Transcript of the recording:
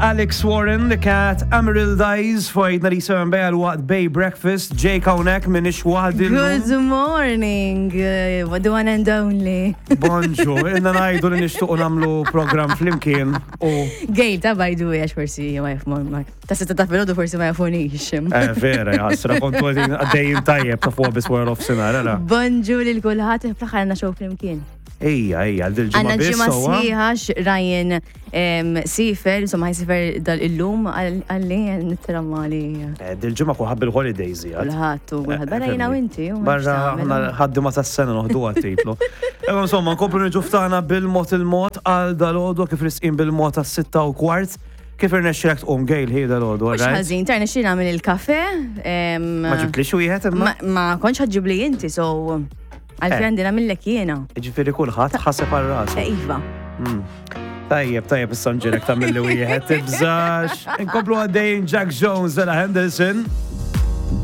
Alex Warren, The Cat, Emerald Eyes, fajt nhar 7 bejja l-waqt Bay Breakfast, Jake hawnhekk minix waħdi. Good morning, uh, the one and only. Bonġu, inna ngħidu li nixtuqu nagħmlu program flimkien u. Gejl ta' by the way, għax forsi ma jafmu, ta' sitta ta' filgħodu forsi ma jafunix. Eh, vera, jasra, kontu għaddejjin tajjeb ta' fuq bis wara nofsinhar, ara. Bonġu lil kulħadd fl-aħħar għandna show flimkien. Ejja, ejja, dil-ġimgħa Għandna ġimgħa sħiħa Ryan sifer, insomma ħajsifer dal-illum għalli nitramma li. Eh, dil-ġimgħa kulħadd bil-holidays jgħid. Kulħadd u kulħadd. Barra jiena u inti. Barra aħna ħaddima tas-sena noħdu għat-titlu. Imma insomma, nkomplu niġu ftana bil-mod il-mod għal dal-għodu kif risqin bil-mod għas-sitta u kwart. Kif irnexxilek tqum Gail hi dal-għodu, Mhux ħażin, ta' rnexxili nagħmel il-kafe. Ma ġibtlix wieħed imma? Ma kontx ħaġġibli inti, so Għalfejn eh. għandi nagħmillek jiena. Ġifieri kulħadd ħaseb għal rasu. Eh, iva. Hmm. Tajjeb, tajjeb, issa nġirek tagħmilli wieħed, tibżax. Inkomplu għaddejjin Jack Jones, Ella Henderson.